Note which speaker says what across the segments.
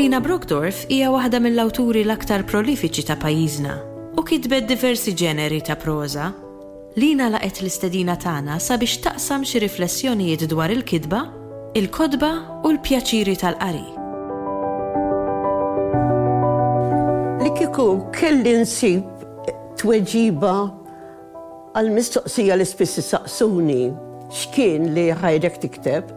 Speaker 1: Lina Brockdorff hija waħda mill-awturi l-aktar prolifiċi ta' pajjiżna u kitbet diversi ġeneri ta' proża. Lina laqgħet l-istedina tagħna sabiex taqsam xi riflessjonijiet dwar il-kitba, il-kotba u l-pjaċiri tal-qari.
Speaker 2: Li kieku kelli nsib tweġiba għall-mistoqsija li spiss isaqsuni, x'kien li ħajrek tikteb?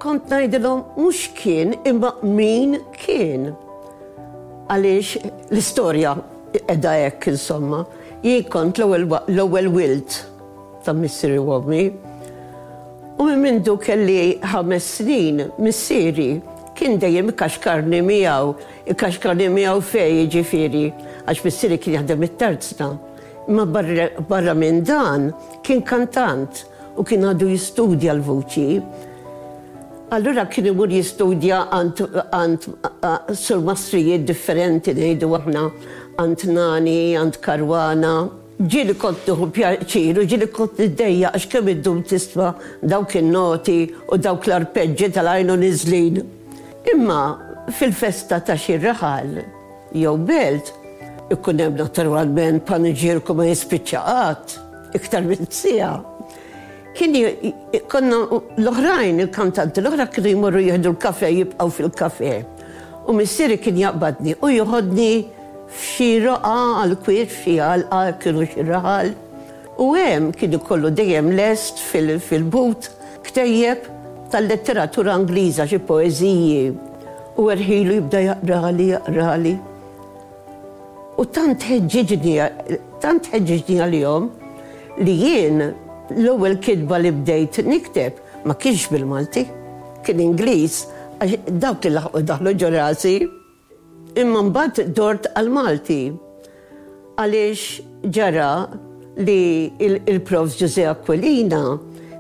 Speaker 2: Kont ngħidilhom mhux kien imma min kien. Għaliex l-istorja qiegħda hekk insomma. Jien kont l-ewwel wild ta' missieri u ommi. U minn mindu kelli ħames snin missieri kien dejjem ikaxkarni miegħu, ikaxkarni miegħu fejn jiġifieri, għax missieri kien jaħdem it-tarzna. Imma barra minn dan kien kantant u kien għadu jistudja l-vuċi. Allura kien imur jistudja għand għand surmastrijiet differenti ngħidu aħna għand Nani, għand Caruana. Ġieli kont nieħu pjaċir u ġieli kont niddejjaq għax kemm iddum tisma' dawk in-noti u dawk l-arpeġġi tal-għajn u niżlin. Imma fil-festa ta' xi raħal jew belt ikun hemm naturalment paniġierku ma jispiċċa qatt, iktar minn siegħa. Kien konna l-oħrajn, il-kantanti l-oħra kienu jmorru jieħdu l-kafè jibqgħu fil-kafè. U missieri kien jaqbadni u joħodni f'xi roqgħa għall-kwiet, f'xi għalqa, kienu xi raħal. U hemm kien ikollu dejjem lest fil-but ktejjeb tal-letteratura Ingliża, xi poeżiji. U erħilu jibda jaqrali, jaqrali. U tant ħeġġiġni, tant ħeġġiġni għalihom li jien l-ewwel kitba li bdejt nikteb ma kienx bil-Malti, kien Ingliż għax dawk li laħqu daħlu ġo rasi. Imma mbagħad dort għall-Malti għaliex ġara li il-Profs Ġużè Aquilina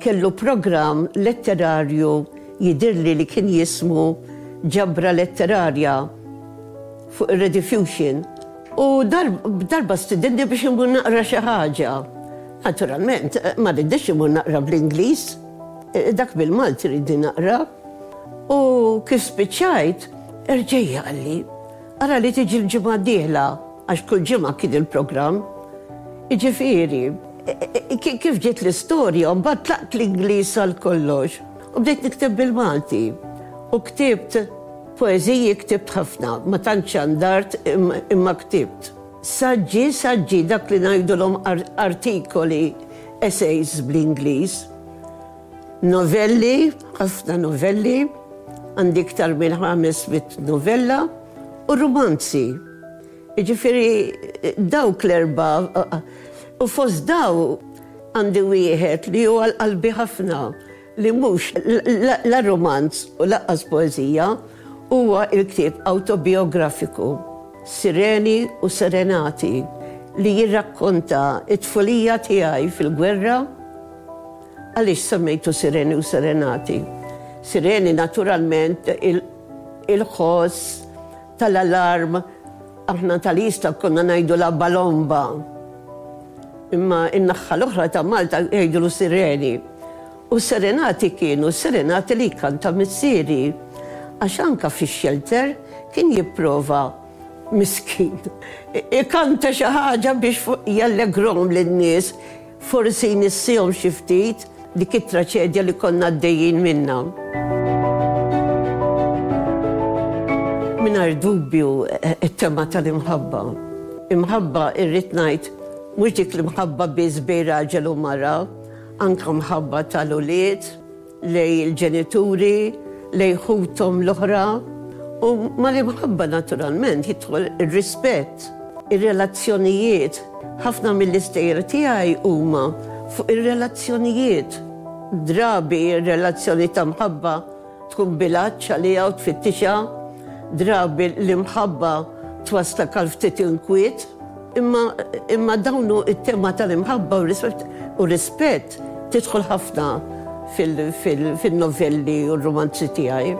Speaker 2: kellu programm letterarju jidhirli li kien jismu Ġabra Letterarja. fuq ir-Rediffusion u darba stidinni biex immur naqra xi ħaġa. Naturalment, ma ridniex immur naqra bl-Ingliż, dak bil-Malti ridni naqra. U kif spiċċajt, erġejja qalli, ara li tiġi l-ġimgħa d-dieħla, għax kull ġimgħa kien il-programm. Jiġifieri, kif ġiet l-istorja, mbagħad tlaqt l-Ingliż għal kollox u bdejt nikteb bil-Malti. U ktibt Poeżiji ktibt ħafna, ma tantx xandart imma ktibt. Saġġi, saġġi, dak li ngħidulhom artikoli, essays bl-Ingliż. Novelli, ħafna novelli, għandi iktar minn 500 novella, u rumanzi. Jiġifieri dawk l-erba' u fost daw għandi wieħed li hu għal qalbi ħafna. li mhux la rumanz u lanqas poeżija, huwa l-ktieb awtobijografiku Sireni u Serenati li jirrakkonta t-tfulija tiegħi fil-gwerra. Għaliex semmejtu Sireni u Serenati? Sireni naturalment il-ħoss tal-alarm, aħna tal-Isla konna ngħidulha balomba. Imma in-naħa l-oħra ta' Malta jgħidulu sireni. U s-serenati kienu s-serenati li jkanta missieri. Għax anka fix-xelter kien jipprova, miskin, ikanta xi ħaġa biex jallegrhom lin-nies, forsi jnissihom xi ftit dik it-traċedja li konna għaddejjin minnha. Mingħajr dubju t-tema tal-imħabba. Imħabba irrid ngħid mhux dik l-imħabba biss bejn raġel u mara, anke mħabba tal-ulied lejn il-ġenituri, lejn ħuthom l-oħra. U mal-imħabba naturalment jidħol ir-rispett, ir-relazzjonijiet. Ħafna mill-istejjer tiegħi huma fuq ir-relazzjonijiet. Drabi r-relazzjoni ta' mħabba Tkun bil-għatx għaliha u tfittixha, drabi l-imħabba twasslek għal ftit inkwiet, imma imma dawn hu t-tema tal-imħabba u u rispett tidħol ħafna fil-novelli u r-rumanzi tiegħi.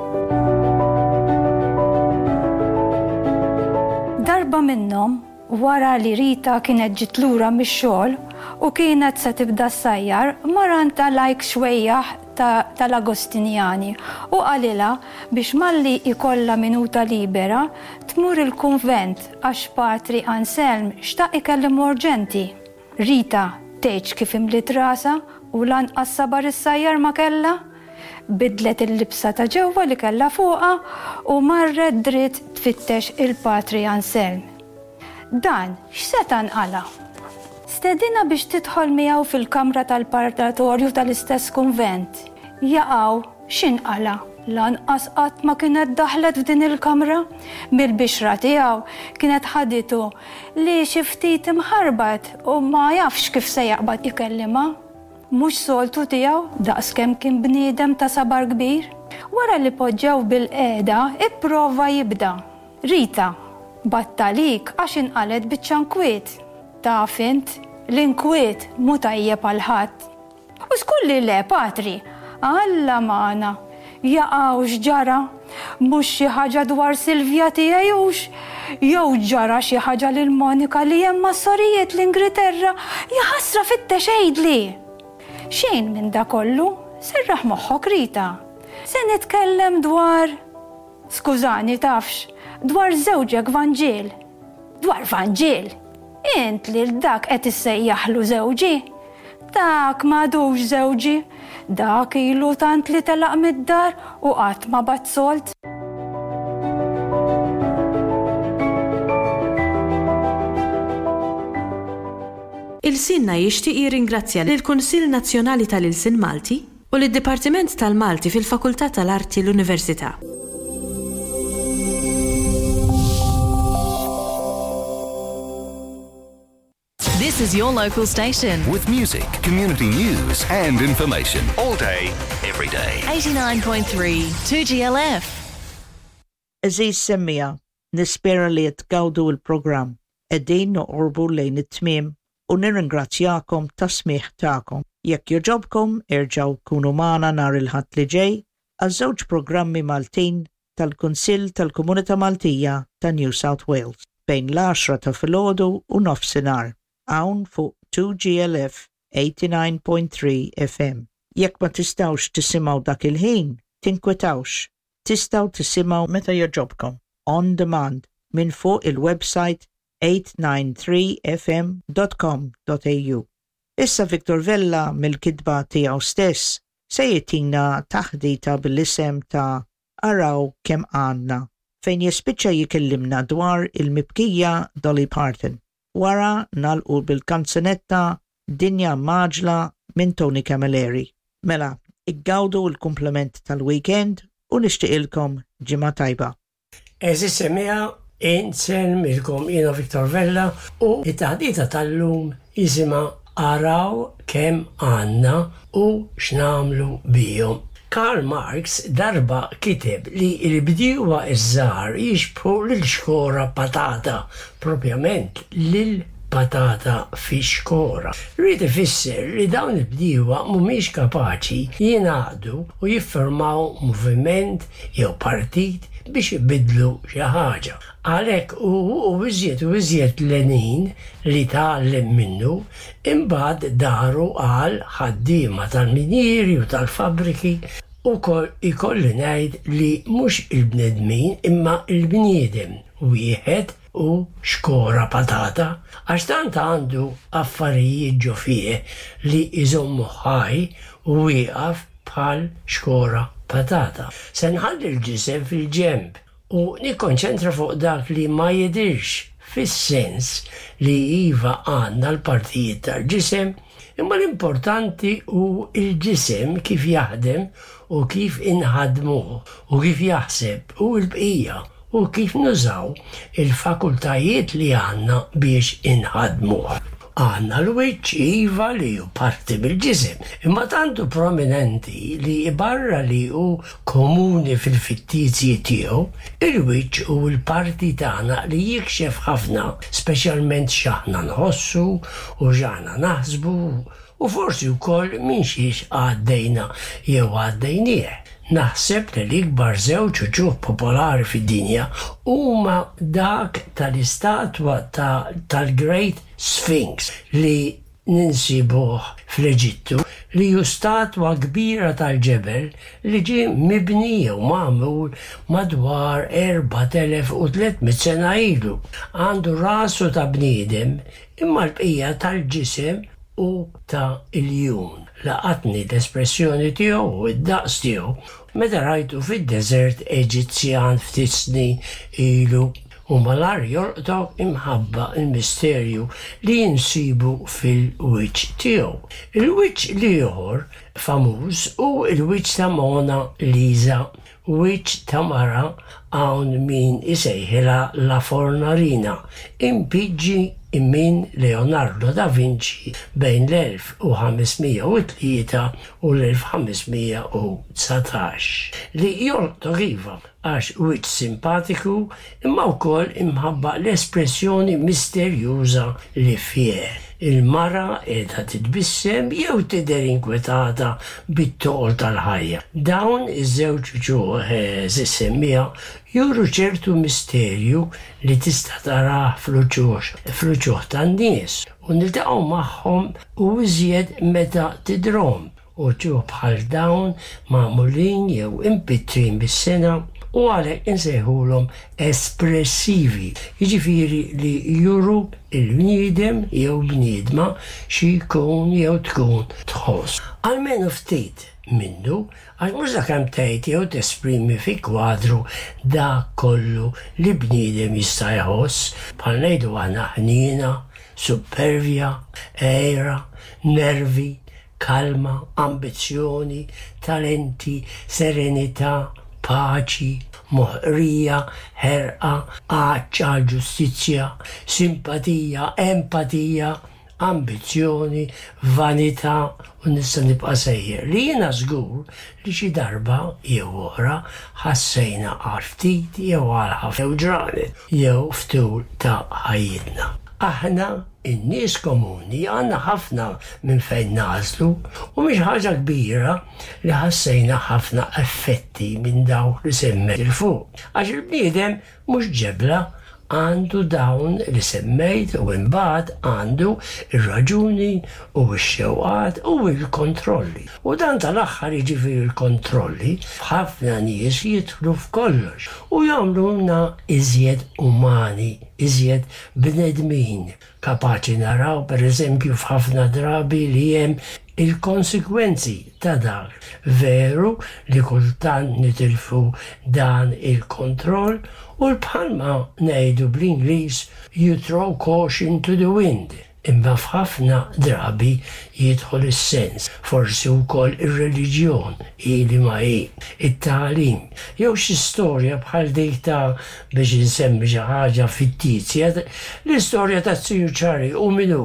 Speaker 3: Darba minnhom, wara li Rita kienet ġiet lura mix-xogħol u kienet se tibda ssajjar, mar għandha Like xwejjaħ. tal-Agostinjani u qalilha biex malli jkollha minuta libera tmur il-kunvent għax Patri Anselm xtaq ikellimha urġenti. Rita tgħidx kif imliet rasha u lanqas sabar issajjar ma kellha. Bidlet il-libsa ta' ġewwa li kellha fuqha u marret dritt tfittex il-Patri Anselm. Dan x'seta' nqala'? Stedinha biex tidħol miegħu fil-kamra tal-parlatorju tal-istess kunvent. Jaqaw, x'inqala'? Lanqas qatt ma kienet daħlet f'din il-kamra. Mill-bixra tiegħu kienet ħaditu li xi ftit imħarbat u ma jafx kif se jaqbad ikellimha. Mhux soltu tiegħu daqskemm kien bniedem ta' sabar kbir. Wara li poġġew bilqiegħda, ipprova jibda. Rita, Bgħatt għalik għax inqalgħet biċċa nkwiet. Taf int, l-inkwiet mhu tajjeb għal ħadd. U żgur li le, Patri! Alla magħna! Jaqaw x'ġara? Mhux xi ħaġa dwar Silvia tiegħi hux? Jew ġara xi ħaġa lil Monika li hemm mas-sorijiet l-Ingriterra? Jaħasra fittex għidli! Xejn minn da kollu, serraħ moħħok Rita. Se nitkellem dwar. Skużani, tafx, dwar żewġek Vanġiel. Dwar Vanġiel? Int lil dak qed issejjaħlu żewġi? Dak m'għadux żewġi. Dak ilu tant li telaq mid-dar u qatt ma bagħat sold.
Speaker 1: Ilsienna jixtieq jirringrazzja lill-Kunsill Nazzjonali tal-Ilsien Malti u lid-Dipartiment tal-Malti fil-Fakultà tal-Arti l-Università.
Speaker 4: This is your local station.
Speaker 5: With music, community news, and information all day, every day.
Speaker 4: 89.3 2GLF.
Speaker 6: Għeżież semmiegħa, nispera li qed tgawdu l-programm. Qegħdin noqorbu lejn it-tmiem u nirringrazzjakom tas-smigħ tagħkom. Jekk jogħġobkom erġgħu kunu magħna nhar il-Ħadd li ġej għal żewġ programmi Maltin tal-Kunsill tal-Komunità Maltija ta' New South Wales bejn l-għaxra ta' filgħodu u nofsinhar hawn fuq 2GLF 89.3 FM. Jekk ma tistgħux tisimgħu dak il-ħin, tinkwetawx, tistgħu tisimgħu meta jogħġobkom on demand minn fuq il-website 893fm dot com dot au. Issa Victor Vella mill-kitba tiegħu stess se jtina taħdita bil-isem ta' Araw Kemm Għandna fejn jispiċċa jikellimna dwar il-mibkija Dolly Parton. Wara nagħlqu bil-kanzunetta Dinja Mgħaġġla minn Tony Camilleri. Mela, iggawdu l-kumplament tal-weekend u nixtieqilkom ġimgħa tajba.
Speaker 7: Għeżież semmiegħa, insellmilkom jiena Victor Vella u t-taħdita tal-lum jisimha Araw kemm għandna u x'nagħmlu bihom. Karl Marx darba kiteb li l-bdiewa ż-żgħar jixbħu lil xkora patata, propjament lil patata fi xkora. Ried ifisser li dawn il-bdiewa mhumiex kapaċi jingħaqdu u jiffurmaw moviment jew partit biex ibiddlu xi ħaġa. Għalhekk hu u iżjed u iżjed Lenin li tgħallem minnu, imbagħad daru għal ħaddiema tal-minjieri u tal-fabbriki. Ukoll ikolli ngħid li mhux il-bnedmin imma l-bniedem wieħed hu xkora patata għax tant għandu affarijiet ġo fih li jżommuh ħaj u wieqaf bħal xkora patata. Se nħalli l-ġisem fil-ġenb u nikkonċentra fuq dak li ma jidhirx fis-sens li iva għandna l-partijiet tal-ġisem imma l-importanti hu l-ġisem kif jaħdem u kif inħaddmuh u kif jaħseb u l-bqija u kif nużaw il-fakultajiet li għandna biex inħaddmuh. Għandna l-wiċċ, iva, li hu parti mill-ġisem, imma tant hu prominenti li barra li hu komuni fil-fittizji tiegħu, il-wiċċ hu l-parti tagħna li jikxef ħafna, speċjalment x'aħna nħossu u x'aħna naħsbu U forsi wkoll minn xiex għaddejna jew għaddejnieh. Naħseb li l-ikbar żewġ uċuħ popolari fid-dinja huma dak tal-istatwa ta' tal-Great Sphinx li. Ninsibuh fl-Eġittu li hu statwa kbira tal-ġebel li ġie mibni jew magħmul madwar 4,300 sena ilu. Għandu rasu ta' bniedem imma l-bqija tal-ġisem hu ta' iljun. Laqatni l-espressjoni tiegħu u d-daqs tiegħu meta rajtu fid-deżert Eġizzjan ftit snin ilu. U malajr jolqtok imħabba l-misterju li insibu fil-wiċċ tiegħu. Il-wiċċ l-ieħor famuż hu l-wiċċ ta' Mona Lisa, wiċċ ta' mara hawn min isejħilha La Fornarina, impiġġi minn Leonardo da Vinci bejn l-1503 u l-1519, li jolqtok iva, għax wiċċ simpatiku imma wkoll imħabba l-espressjoni misterjuża li fih. Il-mara qiegħda titbissem jew tidher inkwetata bit-toqol tal-ħajja. Dawn iż-żewġ uċuħ għeżież semmiegħa juru ċertu misterju li tista' tarah fl-uċuħ fl-uċuħ tan-nies u niltaqgħu magħhom u iżjed meta tidrhom. Uċuħ bħal dawn magħmulin jew impittrin bis-sengħa u għalhekk insejħulhom espressivi, jiġifieri li juru l-bniedem jew bniedma xi jkun jew tkun tħoss. Almenu ftit minnu, għax mhux sakemm tgħid jew tesprimi fi kwadru dak kollu li bniedem jista' jħoss, bħal ngħidu aħna ħniena, suppervja, għira, nervi, kalma, ambizzjoni, talenti, serenità, paċi, moħqrija, ħerqa, għatx għall-ġustizzja, simpatija, empatija, ambizzjoni, vanità u nista' nibqa' sejjer li jiena żgur li xi darba jew oħra ħassejna għal ftit jew għal ħafna ġranet jew f'tul ta' ħajjitna. Aħna, in-nies komuni, għandna ħafna minn fejn nagħżlu u mhix ħaġa kbira li ħassejna ħafna effetti minn dawk li semmejt 'il fuq. Għax il-bniedem mhux ġebla, għandu dawn li semmejt u imbagħad għandu r-raġuni u x-xewqat u l-kontrolli. U dan tal-aħħar jiġifieri l-kontrolli, f'ħafna nies jidħlu f'kollox u jagħmluna iżjed umani, iżjed bnedmin, kapaċi naraw pereżempju f'ħafna drabi li hemm il-konsekwenzi ta' dak. Veru li kultant nitilfu dan il-kontroll u l bħalma ngħidu bl-Ingliż you throw caution to the wind. Imma f'ħafna drabi jidħol is-sens, forsi wkoll ir-reliġjon, hi liema hi, it-tagħlim, jew xi storja bħal dik ta', biex insemmi xi ħaġa fittizja, l-istorja taz-Ziju Ċarli u min hu,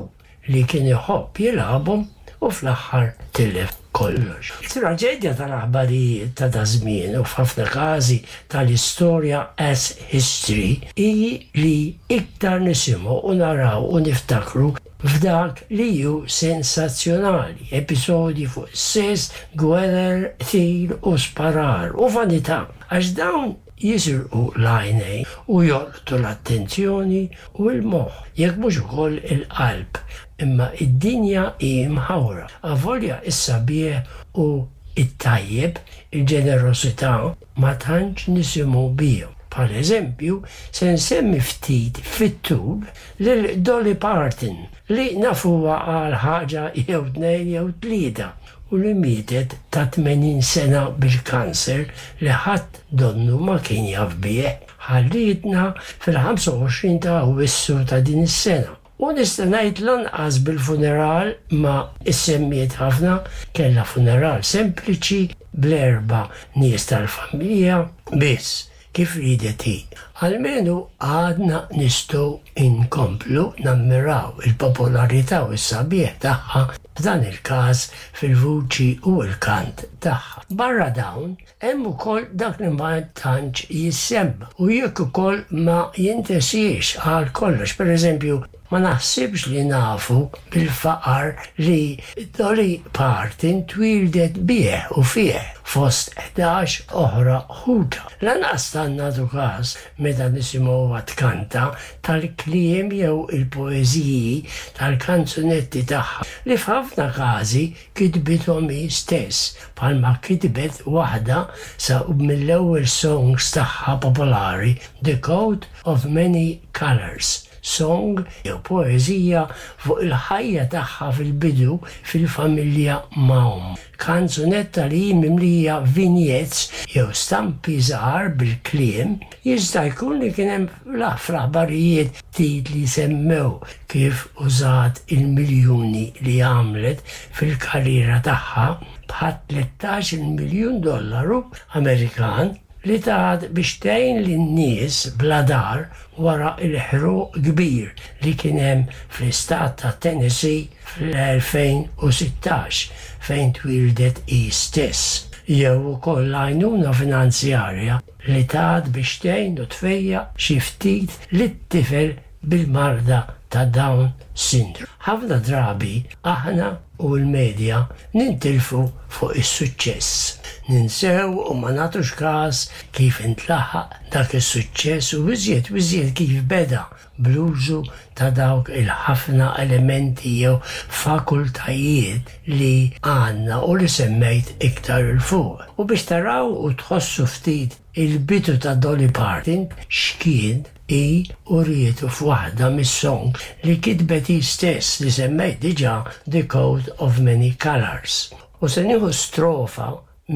Speaker 7: li kien iħobb jilgħabhom u fl-aħħar tilef kollox. It-traġedja tal-aħbarijiet ta' daż-żmien u f'ħafna każi tal-istorja as history hi li iktar nisimgħu u naraw u niftakru f'dak li hu sensazzjonali, episodji fuq is-sess, gwerer, qtil u sparar u vanità, għax dawn jisirqu l-għajnejn u jolqtu l-attenzjoni u l-moħħ, jekk mhux ukoll il-qalb. Imma d-dinja hi mħawra. Avolja s-sabiħ u t-tajjeb, il-ġenerosità, ma tantx nisimgħu bihom. Bħala eżempju, se nsemmi ftit fit-tul lil Dolly Parton, li nafuha għal ħaġa jew tnejn jew tlieta, u li mietet ta' 80 sena bil-kanser li ħadd donnu ma kien jaf bih. Ħallietna fil-25 ta' Awwissu ta' din is-sena. U nista' ngħid lanqas bil-funeral ma ssemmiet ħafna, kellha funeral sempliċi bl-erba' nies tal-familja biss. Kif riedet hi. Almenu għadna nistgħu nkomplu nammiraw il-popolarità u s-sabiħ tagħha, f'dan il-każ fil-vuċi u l-kant tagħha. Barra dawn, hemm ukoll dak li ma tantx jissemma u jekk ukoll ma jintesiex għal kollox. Pereżempju, ma naħsibx li nafu bil-faqar li Dolly Parton twieldet bih u fih. fost 11 oħra ħutha. Lanqas tant nagħtu każ meta nisimgħuha tkanta tal-kliem jew il-poeżiji tal-kanzunetti tagħha li f'ħafna każi kitbithom hi stess bħalma kitbet waħda sa mill-ewwel songs tagħha popolari The Coat of Many Colours. Song jew poeżija fuq il-ħajja tagħha fil-bidu fil-familja ma' ommha. Kanzunetta li hi mimlija vignettes jew stampi żgħar bil-kliem, jista' jkun li kien hemm fl-aħbarijiet titli semmew kif użat il-miljuni li għamlet fil-karriera tagħha bħat-tlettax-il miljun dollaru Amerikan li tat biex tgħin lin-nies bla dar wara l-ħruq kbir li kien hemm fl-istat ta' Tennessee fl-2016 fejn twieldet hi stess, jew ukoll l-għajnuna finanzjarja li tat biex tgħin u tfejjaq xi ftit lit-tifel bil-marda ta' Down Syndrome. Ħafna drabi aħna u l-media nintilfu fuq is-suċċess. Ninsew u ma nagħtux kas kif intlaħaq dak is-suċċess u iżjed u iżjed kif beda bl-użu ta' dawk il-ħafna elementi jew fakultajiet li għandna u li semmejt iktar 'il fuq. U biex taraw u tħossu ftit il-bidu ta' Dolly Parton x'kien, Hi urietu f'waħda mis-songs li kitbet hi stess li semmejt diġà The Coat of Many Colours. U se nieħu strofa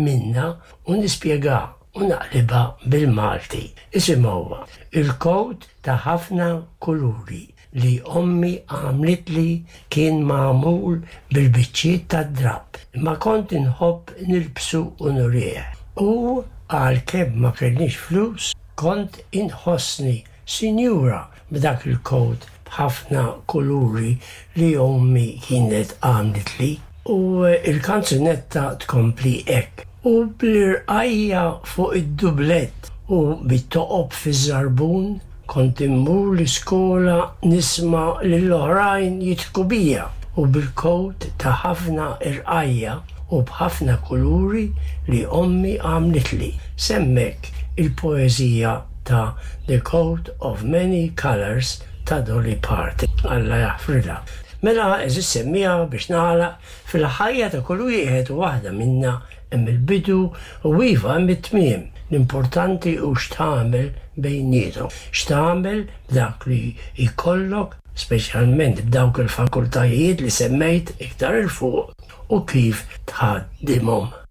Speaker 7: minnha u nispjegha u naqlibha bil-Malti. Isimgħuha, Il-kowt ta' ħafna kuluri li ommi għamlitli kien magħmul bil-biċċiet tad-drapp, imma kont inħobb nilbsu u nurih. U għalkemm ma kellniex flus, Kont inħossni sinjura b'dak il-kowt b'ħafna kuluri li ommi kienet għamlitli. U l-kanzunetta tkompli hekk. U bl-irqajja fuq id-dublett u bit-toqob fiż-żarbun kont immur l-iskola nisma' lill-oħrajn jidħku bija u bil-kowt ta' ħafna irqajja u b'ħafna kuluri li ommi għamlitli. S'hemmhekk il-poeżija ta' The Coat of Many Colours ta' Dolly Parton, Alla jaħfrilha. Mela, għeżież semmiegħa, biex nagħlaq, fil-ħajja ta' kull wieħed u waħda minna hemm il-bidu u iva hemm it-tmiem. L-importanti hu x'tagħmel bejniethom, x'tagħmel b'dak li jkollok, speċjalment b'dawk il-fakultajiet li semmejt iktar 'il fuq u kif tħaddimhom.